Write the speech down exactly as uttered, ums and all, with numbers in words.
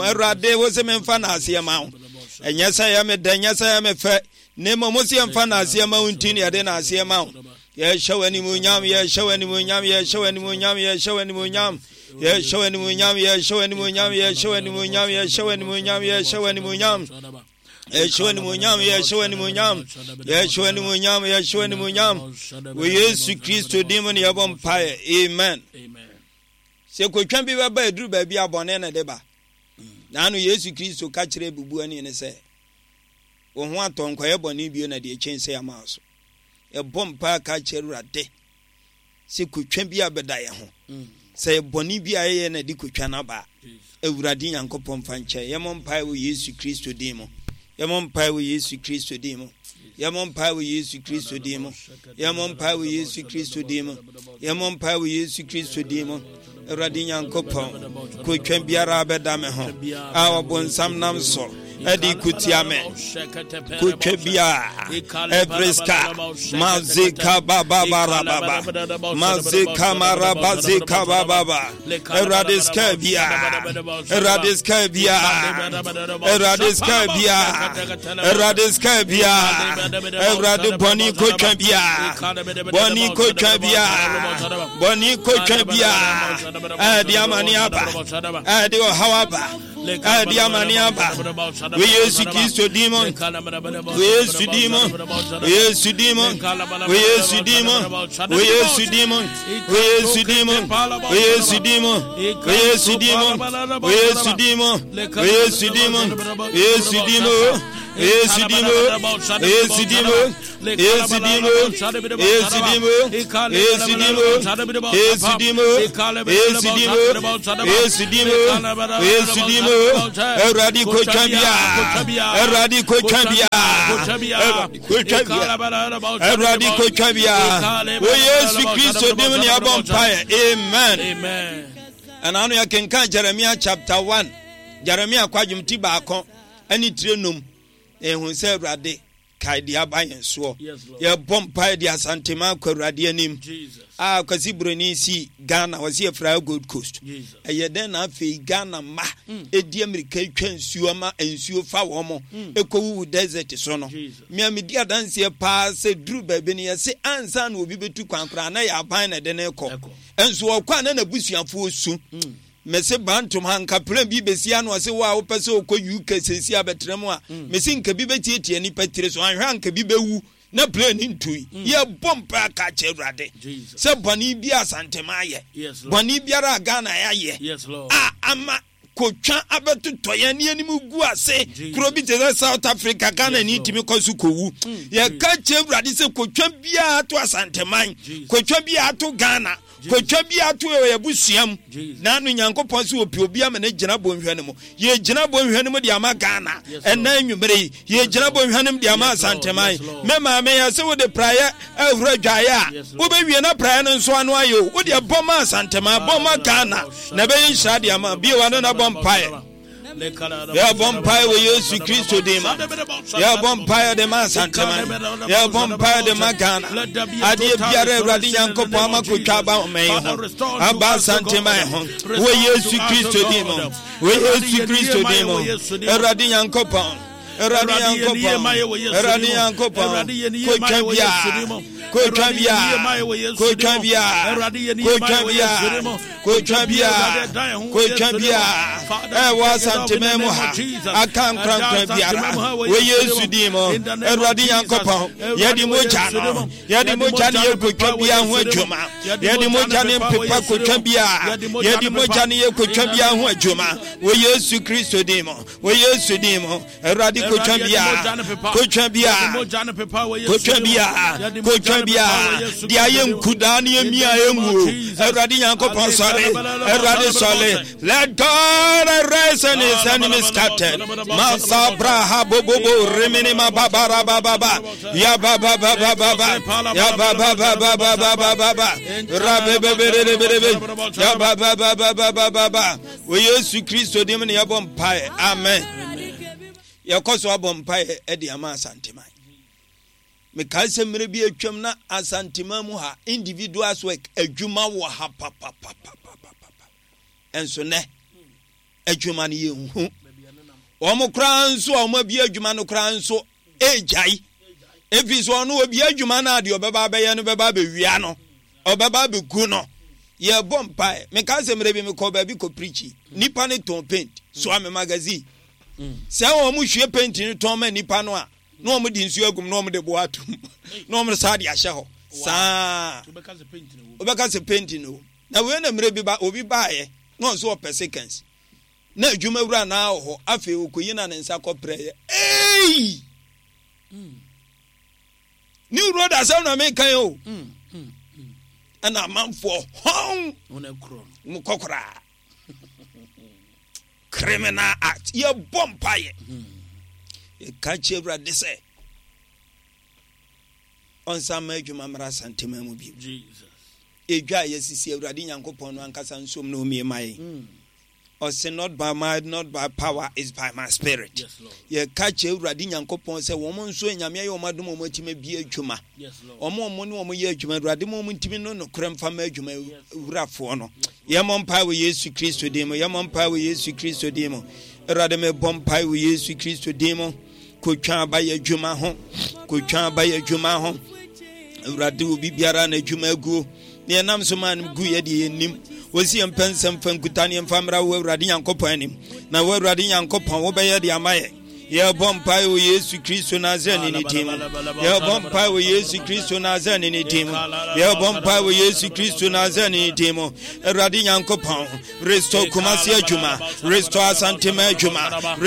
Awurade, wo se memfa naaseɛ ma wo. Ɛnyɛ sɛ yɛ me dɛ, ɛnyɛ sɛ yɛ me fɛ, na mmom wo se yɛmfa naaseɛ ma wo nti na yɛde naaseɛ ma wo. Yɛhyɛ wo animuonyam, yɛhyɛ wo animuonyam, yɛhyɛ wo animuonyam, yɛhyɛ wo animuonyam. Yɛhyɛ wo animuonyam, yɛhyɛ wo animuonyam, yɛhyɛ wo animuonyam, yɛhyɛ wo animuonyam, yɛhyɛ wo animuonyam. Yɛhyɛ wo animuonyam, yɛhyɛ wo animuonyam, yɛhyɛ wo animuonyam, yɛhyɛ wo animuonyam. Wɔ Yesu Kristo din mu na yɛbɔ mpaeɛ. Amen. Sɛ kotwa bi bɛba aduru baabi a bɔne na ɛde ba. Naano Yesu Kristo ka kyerɛɛ bubuani no sɛ, Wo ho atɔ, nkɔyɛ bɔne bio na deɛ ɛkyɛn sei ama wo so. Yɛbɔ mpaeɛ ka kyerɛ Awurade sɛ kotwa bi abɛda yɛn ho. Sɛ yɛ bɔne bi a yɛyɛ na ɛde kotwa no aba a, Awurade Nyankopɔn mfa nkyɛ. Yɛmmɔ mpaeɛ wɔ Yesu Kristo din mu. Yɛmmɔ mpaeɛ wɔ Yesu Kristo din mu. Yɛmmɔ mpaeɛ wɔ Yesu Kristo din mu. Yɛmmɔ mpaeɛ wɔ Yesu Kristo din mu. Yɛmmɔ mpaeɛ wɔ Yesu Kristo din mu. Awurade Nyankopɔn, kotwa biara abɛda me ho a ɔbonsam nam so ɛde kutia me. Kotwa biara, every scar, mazika baba barababa, mazika marabazika baba. Awurade sika biara, Awurade sika biara, Awurade sika biara, Awurade sika biara, Awurade bɔne kotwa biara, bɔne kotwa biara, bɔne kotwa biara, ɛde amane aba, ɛde ɔhaw aba, ɛde amane aba. Wɔ Yesu Kristo din mu, wɔ Yesu din mu, wɔ Yesu din mu, wɔ Yesu din mu, wɔ Yesu din mu, wɔ Yesu din mu, wɔ Yesu din mu, wɔ Yesu din mu, wɔ Yesu din mu, wɔ Yesu din mu, wɔ Yesu din mu, wɔ Yesu din mu, wɔ Yesu din mu, Yesu din mu, Yesu din mu, Yesu din mu, Yesu din mu, Yesu din mu, Yesu din mu, Yesu din mu, Awurade kotwa bia, Awurade kotwa bia, Awurade kotwa bia, Awurade kotwa bia, wɔ Yesu Kristo din mu ne abɔ mpaeɛ, amen. Ɛna ano yɛkenkan Jeremia chapter one, Jeremia kwadwom ti baako ɛne tire num, na ehu sɛ Awurade kae deɛ aba yɛn soɔ. Yɛbɔ mpaeɛ de Asantema akɔ Awurade anim. A Kwasi Buroni si Ghana, wɔsi yɛfrɛ Gold Coast. Ɛyɛ dɛn na afei Ghana mma ɛdi amirika twa nsuo ama nsuo fa wɔn mo ɛkɔwuwu desert so no. Mea medi adanseɛ paa sɛ duru baabi no yɛse ansa na obi bɛtu kwan koraa na yɛ aban na ɛde no kɔ. Nso ɔkɔ a na n'abusuafoɔ su. Mese Bantom ha nka plane bi besi ano ɔse wo a wopɛ sɛ wokɔ U K seesi abɛtena mu a mm. mese nka bi bɛtiatia nipa tiri so anhwɛ a nka bi bɛwu na plane ntui mm. Yɛbɔ mpa aka kyerɛ Awurade sɛ bɔne bi a Asantema ayɛ, bɔne biara a Ghana ayɛ a ama kotwa abɛtotɔ yɛn ne anim gu ase. Kuro bi te sɛ South Africa, Ghana ni tumi kɔ so kɔwu. Mm. Yɛka kyerɛ Awurade sɛ kotwa biara to Asanteman, kotwa biara to Ghana, kotwa bi ato yɛ abusua mu na ano Nyankopɔn sɛ ɔpɛ obi ama no gyina bɔnhwa no mu. Yɛgyina bɔnhwa no mu de ama Ghana ɛna anwummere yi, yɛgyina bɔnhwa no mu de ama Asanteman. Me maame yɛ sɛ wode praeɛ ahura dwaeɛ a wobɛwie na praeɛ no nso ano ayɛ o. Wode bɔ ma Asanteman, bɔ ma Ghana na ɛbɛyɛ nhyira de ama bio. Ano na bɔ mpaeɛ. Yɛbɔ mpae wɔ Yesu Kristo din mu. Yɛbɔ mpae de ma Asanteman. Yɛbɔ mpae de ma Ghana. Adeɛ biara Awurade Nyankopɔn ama kotwa aba ɔman yi ho. Aba Asanteman ho. Wɔ Yesu Kristo din mu. Wɔ Yesu Kristo din mu. Awurade Nyankopɔn. Awurade Nyankopɔn. Awurade Nyankopɔn. Kotwa biara. Kotwa biara. Kotwa biara. Kotwa biara. Kotwa biara, kotwa biara ɛwɔ Asanteman mu ha aka nkorankora biara wɔ Yesu din mu. Awurade Nyankopɔn, yɛde mogya no, yɛde mogya no yɛ kotwa biara ho adwuma. Yɛde mogya no mpepa kotwa biara, yɛde mogya no yɛ kotwa biara ho adwuma wɔ Yesu Kristo din mu, wɔ Yesu din mu. Awurade kotwa bia, kotwa bia, kotwa bia, kotwa bia, de ayɛ nkudaa ne emia enguo. Awurade Nyankopɔn sɔre, Awurade sɔre. Let God arise and his enemies scattered. Masa braha bobobo rimini ma babara bababa. Ya baba baba baba. Ya baba baba baba baba. Rabebebebebebe. Ya baba baba baba baba. Wɔ Yesu Kristo dim ne yɛbɔ mpaeɛ. Amen. Yɛkɔ so abɔ mpaeɛ de ama Asanteman. Mekae sɛ mmerɛ bi atwam na Asanteman mu ha individuals work adwuma wɔ ha papapapapapa. Ɛnso nɛ Adwuma no yɛnhu. Wɔn koraa nso a wɔn abie adwuma no koraa nso egyae. Efi so ɔno obi adwuma no a deɛ ɔbɛba abɛyɛ no bɛba abɛwia no, ɔbɛba abɛgu no. Yɛbɔ mpae. Meka sɛ mmerɛ bi mekɔ baabi kɔ preach. Nipa no tɔn paint, soa me magazine. Sɛ wɔn hwie paint no tɔn ma nipa no a, na wɔn de nsuo agum na wɔn de boa atum na wɔn saa de ahyɛ hɔ saa. Wobɛka sɛ paint no. Na wei na mmerɛ bi ba obi baayɛ na ɔnso ɔpɛ seconds. Na adwuma wura naa wɔ hɔ, afei okoyi na ne nsa kɔ prɛ yɛ. Ei! New Road asɛm na meka yi o. Ɛna amanfoɔ hɔn mo kɔ koraa. Criminal act. Yɛbɔ mpaeɛ. Yɛka kyerɛ Awurade sɛ ɔnsan ma adwuma mmra Asantema mu bio. Edwa a yɛsisi Awurade Nyankopɔn no ankasa nsom na ɔmie ma yɛn. Ɔse not by might, not by power, is by my spirit. Yɛka kyerɛ Awurade Nyankopɔn sɛ wɔn nso Nyame ayɛ wɔn adom wɔn atumi abie adwuma. Wɔn wɔn ne wɔn yɛ adwuma, Awurade ma wɔn ntumi no nokorɛ mfa ma adwuma wurafoɔ no. Yɛmmɔ mpae wɔ Yesu Kristo din mu. Yɛmmɔ mpae wɔ Yesu Kristo din mu. Awurade mebɔ mpae wɔ Yesu Kristo din mu. Kotwa aba yɛ adwuma ho. Kotwa aba yɛ adwuma ho. Awurade obi biara na adwuma aguo. Ne yɛnam so maa no gu yɛ deɛ yɛnnim. Wɔsi yɛn mpɛ nsɛm fa nkuta ne yɛmfa mmra wo Awurade Nyankopɔn anim. Na wo Awurade Nyankopɔn wobɛyɛ de ama yɛ. Yɛbɔ mpae wɔ Yesu Kristo Nasareni ne din mu. Yɛbɔ mpae wɔ Yesu Kristo Nasareni ne din mu. Yɛbɔ mpae wɔ Yesu Kristo Nasareni ne din mu. Awurade Nyankopɔn, restore Kumasi adwuma, restore Asantema adwuma.